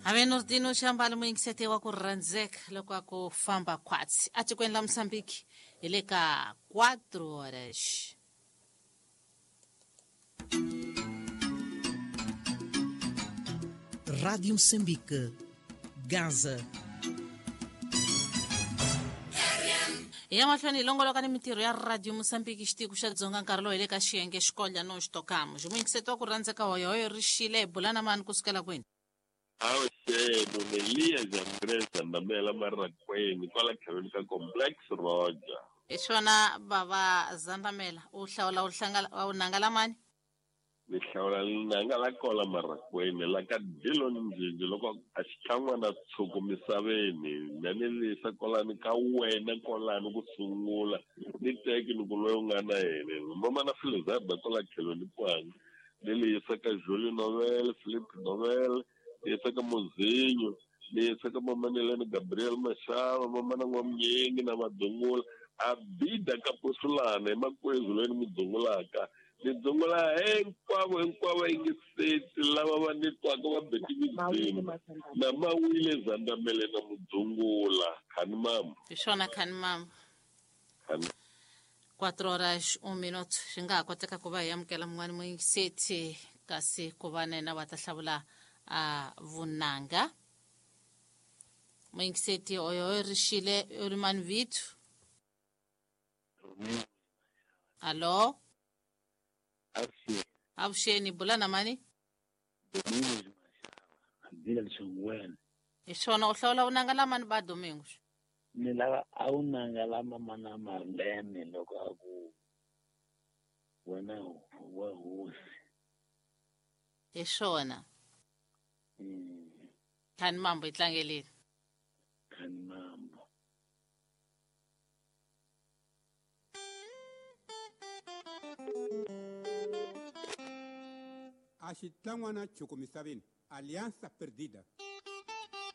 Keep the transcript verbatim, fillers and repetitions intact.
Ave Nordino Xambalo muyingiseti wa ku rhandzeka loko a ku famba khwatsi atikweni la Mozambique hi le ka quatro horas. Rádio Moçambique, Gaza. Hi ya mahlweni hi longoloka ni mintirho ya Radio Moçambique xitiko xa Dzonga nkarhi lowu hi le ka xiyenge xikolya no xitokamo. Muyingiseti wa ku rhandzeka hoyohoyo ri xile hi bula na mani kusukela kwini? Avuxeni Elias Andres Zandamela Marakweni kwala tlhelweni ka Complex Roger. Hi swona bava Zandamela u hlawula u hlangala u nanga mani? Ni hlawula nanga la kola Marakweni la ka Dillon Njinji loko a xitlhan'wana tshuku misaveni na ni lisa kolani ka wena kolani ku sungula ni teki ni ku loyi u nga na yena mama na Filizaba kwala tlhelweni kwanga ni lisa ka Julie Novel, Philip Novel, ni yisa ka Mozinho, ni yisa ka Mamanelani Gabriel Mashava, mamana N'wamnyingi na Madzungula Abida ka Posulana hi makwezu loyi ni mu dzungulaka ni dzungula hinkwavo hinkwavo yingiseti lava va ni twaka va beti midzimu na Mawile Zandamele na Mudzungula khani mama. Hi swona khani mama. Khani. Quatro horas um minuto swi nga ha koteka ku va hi amukela mun'wani muyingiseti kasi ku va na yena va ta hlawula a vunanga. Muyingiseti oyo ri xile u ri mani vito? Allo? Avuxeni bula na mani? Hi swona u hlawula vunanga la mani ba Domingos? Ni lava a wu nanga la mama na Marlene loko a ku wena wa hosi. Hi swona. Khani mambo yi tlangeleni. Khani mambo. A xitlhan'wana chuku misaveni, Alianza Perdida.